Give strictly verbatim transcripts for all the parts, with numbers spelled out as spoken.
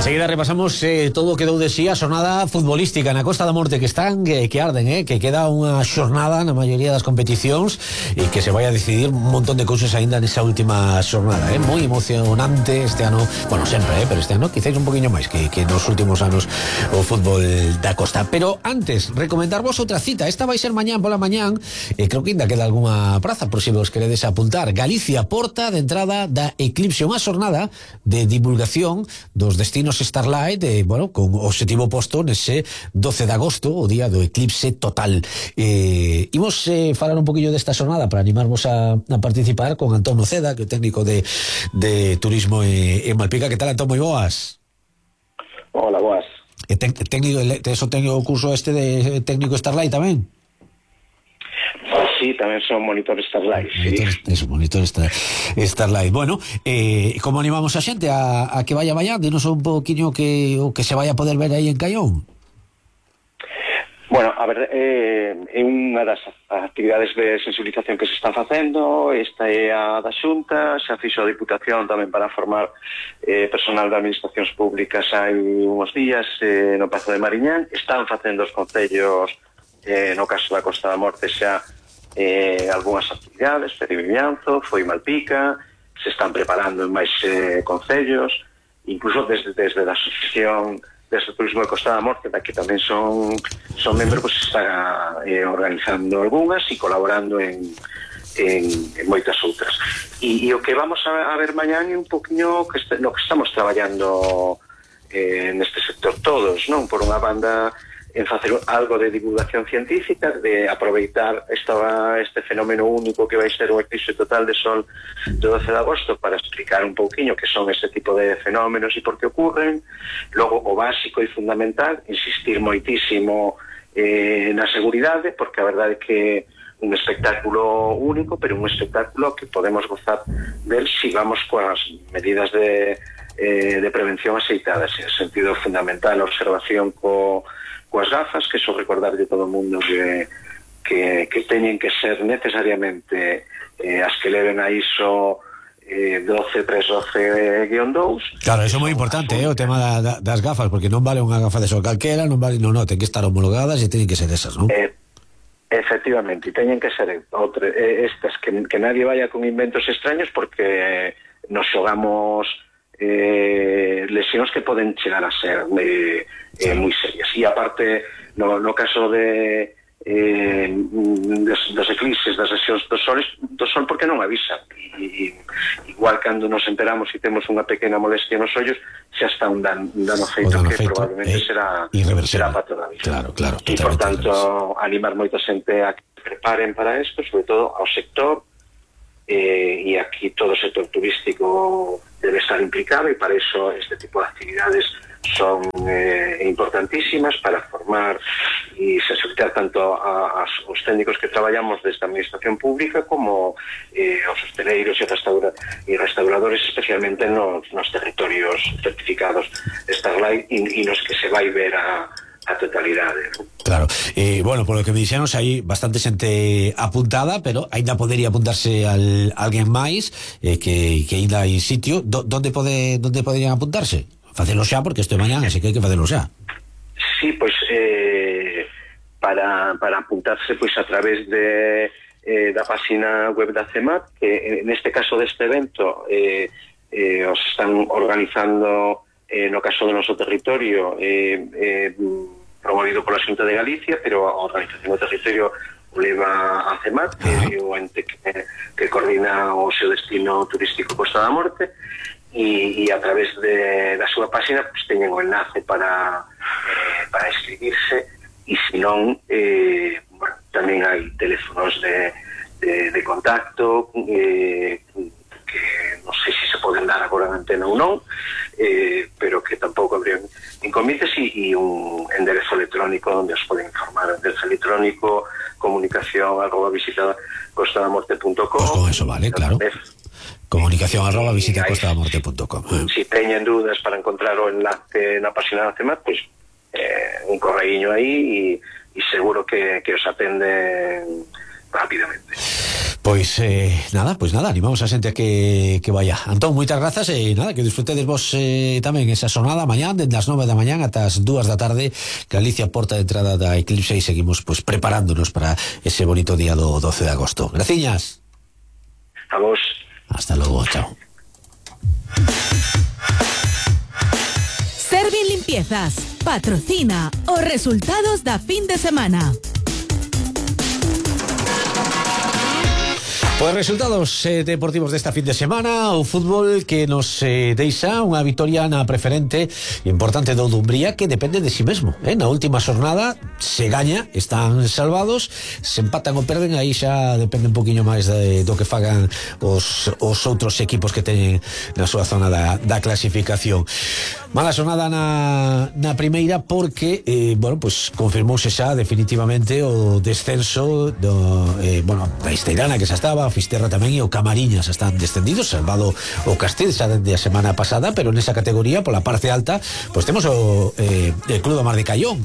Enseguida repasamos eh, todo o que dou de sí a xornada futbolística na Costa da Morte, que están eh, que arden, eh, que queda unha xornada na maioría das competicións e que se vai a decidir un montón de cousas aínda nesa última xornada, eh, moi emocionante este ano, bueno, sempre, eh, pero este ano quizás un poquinho máis que, que nos últimos anos o fútbol da Costa. Pero antes, recomendarvos outra cita. Esta vai ser mañán pola mañán, e eh, creo que ainda queda algunha praza por se vos queredes apuntar. Galicia porta de entrada da Eclipse, unha xornada de divulgación dos destinos Starlight, eh, bueno, con objetivo posto nese doce de agosto, o día do eclipse total. Eh, imos eh, falar un poquillo desta xornada para animarvos a, a participar con Antón Noceda, que é o técnico de, de turismo en, en Malpica. Que tal, Antón? Moi boas. Hola, boas. E ten, técnico, tes o técnico curso este de técnico Starlight tamén? Sí, tamén son monitor Starlight, monitor, sí. Eso, monitor Star, Starlight. Bueno, eh, como animamos a xente a, a que vaya vaya? Dinos un poquinho que, o que se vaya a poder ver aí en Caión. Bueno, a ver, eh, é unha das actividades de sensibilización que se están facendo. Esta é a da Xunta, xa fixo a Diputación tamén para formar eh, personal de administracións públicas hai uns días eh, no Pazo de Mariñán. Están facendo os concellos, eh, no caso da Costa da Morte xa eh, algunhas actividades, Ferivimianzo, foi Malpica, se están preparando en máis eh, concellos, incluso desde, desde a Asociación desde o Turismo de Costa da Morte, da que tamén son son membros, pues, está eh, organizando algunhas e colaborando en, en, en moitas outras. E, e o que vamos a, a ver mañán é un poquinho que este, no que estamos traballando eh, neste sector todos, non? Por unha banda, en facer algo de divulgación científica, de aproveitar esta, este fenómeno único que vai ser o eclipse total de sol do doce de agosto para explicar un pouquiño que son este tipo de fenómenos e por que ocurren. Logo, o básico e fundamental, insistir moitísimo eh, na seguridade, porque a verdade é que un espectáculo único, pero un espectáculo que podemos gozar del si vamos coas medidas de, eh, de prevención aceitadas, en sentido fundamental, a observación co coas gafas, que so recordarlle todo o mundo que, que, que teñen que ser necesariamente eh, as que leven a ISO eh, doce tres doce guión dous. Claro, eso é moi importante, eh, o tema da, da, das gafas, porque non vale unha gafa de sol calquera, non vale, non, non, ten que estar homologadas e teñen que ser esas, non? Eh, efectivamente, e teñen que ser outra, eh, estas, que, que nadie vaya con inventos extraños, porque nos xogamos eh, lesións que poden chegar a ser eh, eh, moi serias. E aparte, no, no caso de eh, dos, dos eclipses, das lesións dos soles, do sol, porque non avisan. E, igual cando nos enteramos e temos unha pequena molestia nos ollos, xa está un, dan, un dano feito dano que feito, probablemente eh, será, será para toda a vida. Claro, claro. E, por tanto, animar moita xente a que preparen para isto, sobre todo ao sector, eh, e aquí todo o sector turístico debe estar implicado, e para eso este tipo de actividades son eh, importantísimas para formar e sensibilizar tanto a, a, os técnicos que traballamos desde a administración pública como eh, os hosteleiros e, restaura, e restauradores, especialmente nos, nos territorios certificados Starlight e, e nos que se vai ver a, a totalidade, ¿no? Claro, eh, bueno, por lo que me dixeron, hai bastante xente apuntada, pero ainda podería apuntarse al, alguén máis eh, que, que ainda hai sitio. Do, donde pode, donde poderían apuntarse? Facelo xa, porque isto é mañán, así que hai que facelo xa. Sí, pois eh, para, para apuntarse pois a través de eh, da página web da CEMAT, que neste caso deste evento eh, eh, os están organizando eh, no caso do noso territorio, eh, eh, promovido pola Xunta de Galicia, pero a organización do territorio o leva a CEMAT, que é o ente que, que coordina o seu destino turístico Costa da Morte. E, e a través de, da súa página pues, teñen o enlace para eh, para inscribirse, e se non eh, bueno, tamén hai teléfonos de, de, de contacto eh, que non sei se se poden dar agora na antena ou non, eh, pero que tampouco habría inconvenientes, e, e un enderezo electrónico onde os poden informar, enderezo electrónico comunicación arroba visita costadamorte punto com. Pues con eso vale, claro. Comunicación arroba visita costadamorte punto com. Si teñen dúdas para encontrar o enlace na página da CEMAT, pois eh, un correiño aí e, e seguro que, que os atenden rápidamente. Pois eh, nada, pois nada, animamos a xente a que, que vaya. Antón, moitas grazas e nada, que disfrutedes vos eh, tamén esa sonada mañá, desde as nove da mañá ata as dúas da tarde, Galicia, porta de entrada da Eclipse, e seguimos pois preparándonos para ese bonito día do doce de agosto. Graciñas. A vos. Hasta logo, chao. Servin Limpiezas patrocina os resultados da fin de semana. Pois resultados eh, deportivos desta fin de semana, o fútbol que nos eh, deixa unha vitoria na preferente importante do Dumbría, que depende de si mesmo, eh? Na última xornada se gaña, están salvados, se empatan ou perden, aí xa depende un poquinho máis de, do que fagan os, os outros equipos que teñen na súa zona da, da clasificación. Mala xornada na, na primeira porque eh, bueno, pues confirmouse xa definitivamente o descenso do, eh, bueno, da Esteirana, que xa estaba, a Fisterra tamén, e o Camariñas están descendidos, salvado o Castel xa dende a semana pasada, pero nesa categoría, pola parte alta, pois temos o eh, el Club do Mar de Caión,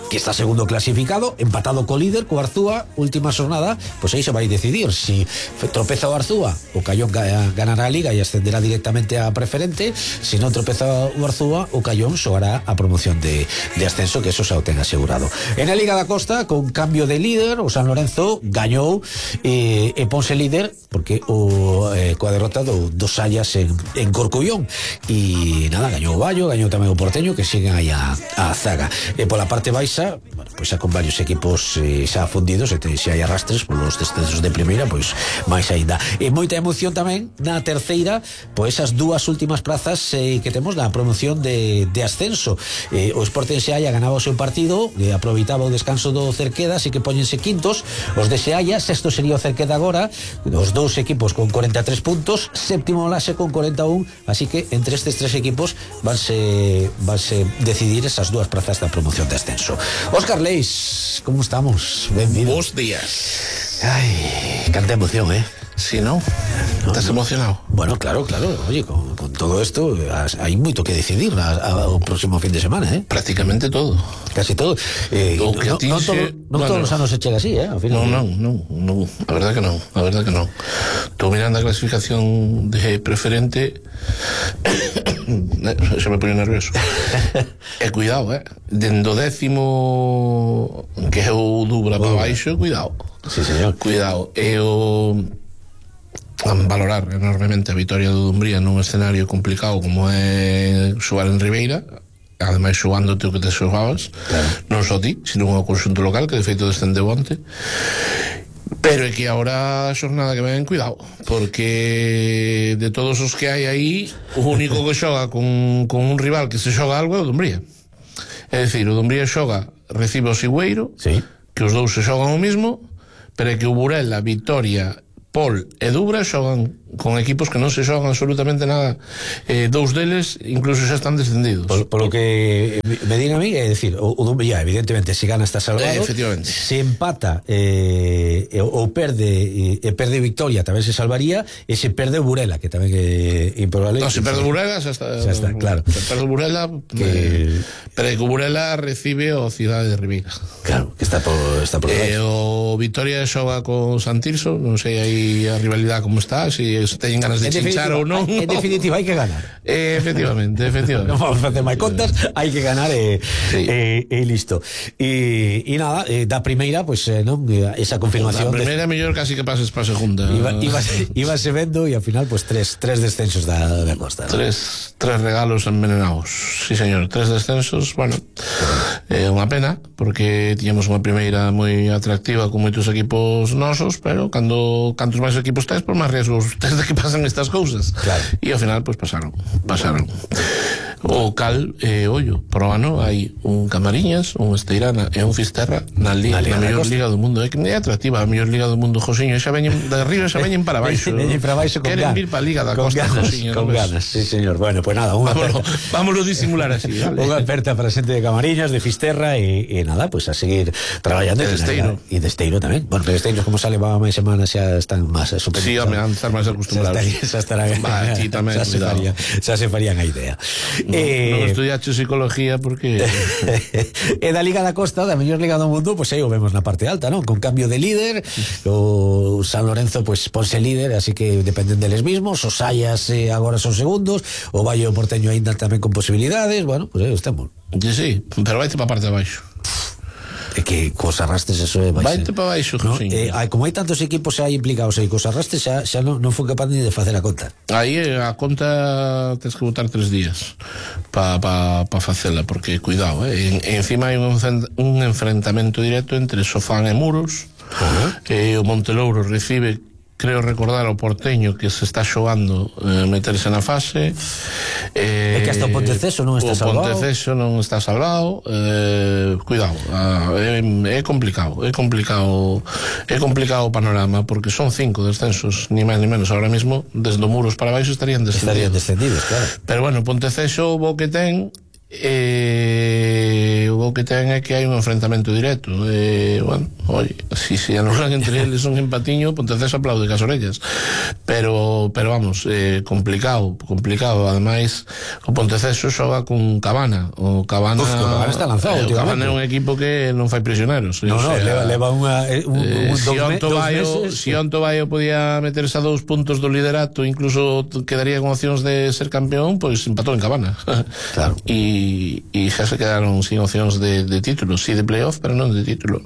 que está segundo clasificado, empatado co líder, co Arzúa, última xornada, pois aí se vai decidir si tropeza o Arzúa, o Caión ganará a Liga e ascenderá directamente a preferente, se non tropeza o Arzúa, o Caión xogará a promoción de, de ascenso, que eso xa o ten asegurado. En a Liga da Costa, con cambio de líder, o San Lorenzo gañou e, e ponse líder, porque o eh, coa derrota do, dos Sallas en, en Corcubión, e nada, gañou o Vallo, gañou tamén o Porteño, que siguen aí a, a zaga. E pola parte baixa, bueno, pois xa con varios equipos eh, xa fundidos, e te, se hai arrastres polos descensos de primeira, pois máis aínda. E moita emoción tamén na terceira, pois esas dúas últimas prazas eh, que temos na promoción de, de ascenso. Eh, o Sporting Sealla ganaba o seu partido, eh, aproveitaba o descanso do Cerqueda, así que poñense quintos. Os de Sealla, sexto sería o Cerqueda agora, os dous equipos con cuarenta e tres puntos, séptimo Lase con cuarenta e un, así que entre estes tres equipos vanse, vanse decidir esas dúas prazas da promoción de ascenso. Óscar Leis, como estamos? Benvido. Bos días. Ai, canta emoción, eh? Si, ¿no? No, ¿Estás no. emocionado? Bueno, claro, claro. Oye, con, con todo esto hay moito que decidir a, a, o próximo fin de semana, eh? Prácticamente todo. Casi todo. Eh, O no, que no, ti non se- todo, non bueno. todos os anos se chega así, eh? Ao final, No, no, no, no. A verdad que no. A verdad que no. Estou mirando a clasificación de preferente. Se me pone nervioso. E cuidado, eh? Dendo décimo, que é o Dubra para baixo, cuidado. Sí, señor. Cuidado. E o valorar enormemente a vitoria do Dumbría nun escenario complicado como é xogar en Ribeira, ademais xogándote o que te xogabas, claro. Non só ti, sino o conxunto local, que de feito descendeu onte. Pero é que agora a xornada que ven, cuidado, porque de todos os que hai aí, o único que xoga con, con un rival que se xoga algo é o Dumbría. É dicir, o Dumbría xoga, recibe o Sigüeiro, Sí. que os dous se xogan o mismo, pero é que o Burela, Vitoria, Pol e Dubra xogan con equipos que non se xogan absolutamente nada. Eh, dous deles incluso xa están descendidos. Por, por lo que me digan a mí, é decir, o, o Dumbría, evidentemente, se gana está salvado. Eh, efectivamente. Se empata eh, ou perde e eh, perde Victoria, tamén se salvaría, e se perde o Burela, que tamén é improbable. No, se perde o Burela, xa está. Xa está, claro. Se perde o Burela, Que- eh, pero é que o Burela recibe o Cidade de Ribeira. Claro, que está por, está por Eh, o Vitoria xoga con Santirso, non sei aí a rivalidade como está, se si teñen ganas de chinchar ou non. En definitiva, hai que ganar. Eh, efectivamente, efectivamente. Non vamos a facer máis contas, hai que ganar e, Sí. e, e listo. E, e nada, eh, da primeira, pois, eh, non, esa confirmación. A primeira mellor casi que pases para a segunda. Iba, iba, iba se vendo e ao final, pues, tres, tres descensos da, da Costa, ¿no? Tres, tres regalos envenenados. Sí, señor, tres descensos. Bueno, é unha pena, porque tiñamos unha primeira moi atractiva con moitos equipos nosos, pero cando cantos máis equipos tes, por máis riesgos tes de que pasen estas cousas. Claro. E ao final, pois, pasaron. Pasaron. O cal, eh, ollo, por o ano hai un Camariñas, un Esteirana e un Fisterra na, li, Na na, Liga da mellor Costa. liga do mundo. É que é atractiva a mellor liga do mundo, Josiño. Xa veñen de arriba, xa veñen para baixo. Veñen para baixo con Queren ganas. vir para a Liga da con Costa, ganas, Josiño. con non ves? ganas, sí, señor. Bueno, pues nada, unha Vámonos, aperta, vámonos disimular así, vale? unha aperta para a xente de Camariñas, de Fisterra e, e nada, pues a seguir traballando. E de Esteiro. E de Esteiro tamén. Bueno, pero de Esteiro, como sale va máis semanas, xa están máis superiores. Sí, home, han de estar máis Xa acostumbrados. estaría, xa estarán, Va, aquí tamén, xa se cuidado. faría, xa se farían a idea. Eh... non estudiaste psicología porque... E da Liga da Costa, da mellor Liga do mundo, pois aí o vemos na parte alta, non? Con cambio de líder, o San Lorenzo pois ponse líder, así que dependen deles mismos, os Sayas eh, agora son segundos, o Valle o Porteño aínda tamén con posibilidades, bueno, pois aí estamos. Sí, sí, pero vaite para a parte de abaixo. É que cos arrastres eso é baixo. Vaite para baixo, no? eh, hai, como hai tantos equipos aí implicados aí cos arrastres, xa, xa non, non foi capaz ni de facer a conta. Aí a conta tens que botar tres días para pa, pa facela, porque cuidado, eh? en, encima hai un, un enfrentamento directo entre Sofán e Muros. Uh-huh. E o Montelouro recibe, creo recordar, o Porteño, que se está xogando eh, meterse na fase. Eh, é que hasta o Ponteceso non está salvado. O Ponteceso non está salvado. Eh, cuidado, ah, é, é complicado, é complicado, é complicado o panorama, porque son cinco descensos, ni máis ni menos. Ahora mismo, desde o Muros para baixo estarían descendidos. Estarían descendidos, claro. Pero bueno, Ponteceso, o que ten, eh, o que ten é que hai un enfrentamento directo. Eh, bueno, oi, si se si anulan entre eles un empatiño, Ponteceso aplaude cas orellas, pero pero vamos, eh, complicado, complicado. Ademais, o Ponteceso xoga con Cabana. O Cabana, Uf, o Cabana está lanzado, eh, o Cabana é un equipo que non fai prisioneros. No, no, leva, leva unha, un, eh, un, si dos, Onto dos Baio, meses. si Onto Baio podía meterse a dous puntos do liderato, incluso quedaría con opcións de ser campeón, pois empatou en Cabana. Claro. E y xa se quedaron sin opcións de, de título, sí de playoff, pero non de título.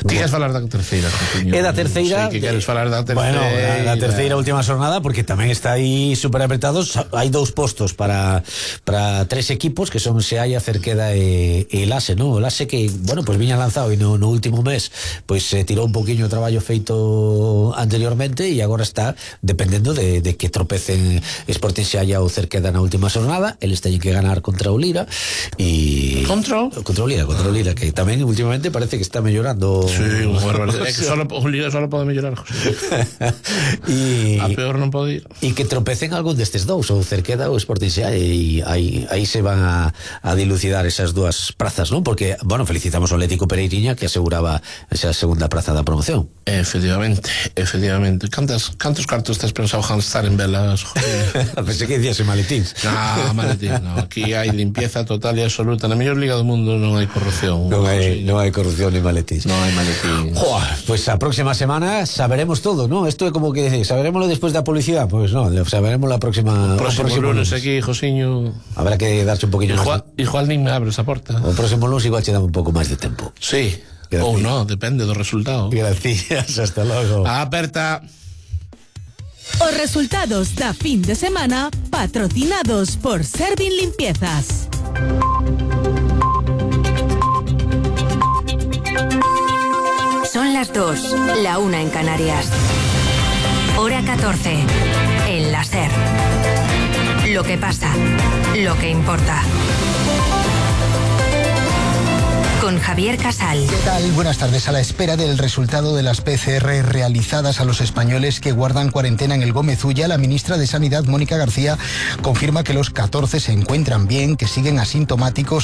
Ti queres falar da terceira, Jotiño? É da terceira. Sei que queres falar da terceira. Bueno, da, da terceira última xornada, porque tamén está aí super apretados. Hai dous postos para para tres equipos, que son Seaia, Cerqueda e, e Lase, non? O Lase que, bueno, pois pues viña lanzado e no, no último mes pois pues, eh, tirou un poquinho o traballo feito anteriormente e agora está dependendo de, de que tropecen Sporting Seaia ou Cerqueda na última xornada. Eles teñen que ganar contra o Lira e... Contra? Contra o Lira, contra o Lira, que tamén últimamente parece que está mellorando. Sí, un barbaridade. É que solo, o Liga solo pode mellorar, José. E a peor non pode ir. E que tropecen algún destes dous, ou Cerqueda ou Sporting Seaia, e aí, aí se van a, a dilucidar esas dúas prazas, non? Porque, bueno, felicitamos ao Atlético Pereiriña, que aseguraba esa segunda praza da promoción. Efectivamente, efectivamente. Cantas, cantos cartos tens pensado gastar en velas, José? Pensei que dicías en maletíns. No, maletíns, no. Aquí hai limpieza total e absoluta. Na mellor liga do mundo non hai corrupción. Non hai, non hai corrupción ni maletíns. Non hai maletíns. Joa, pues a próxima semana saberemos todo, ¿no? Esto é como que decir, saberemoslo despois da publicidade, pois pues no, saberemos la próxima. O próximo, o próximo lunes, lunes aquí, Josiño. Habrá que darse un poquinho máis. Igual nin me abre esa porta. O próximo lunes igual che dá un pouco máis de tempo. Sí. Ou no, depende do resultado. Gracias, hasta logo. Aperta. Os resultados da fin de semana patrocinados por Servin Limpiezas. Son las dos, la una en Canarias. Hora catorce, en la SER. Lo que pasa, lo que importa. Con Javier Casal. ¿Qué tal? Buenas tardes. A la espera del resultado de las P C R realizadas a los españoles que guardan cuarentena en el Gómez Ulla, la ministra de Sanidad, Mónica García, confirma que los catorce se encuentran bien, que siguen asintomáticos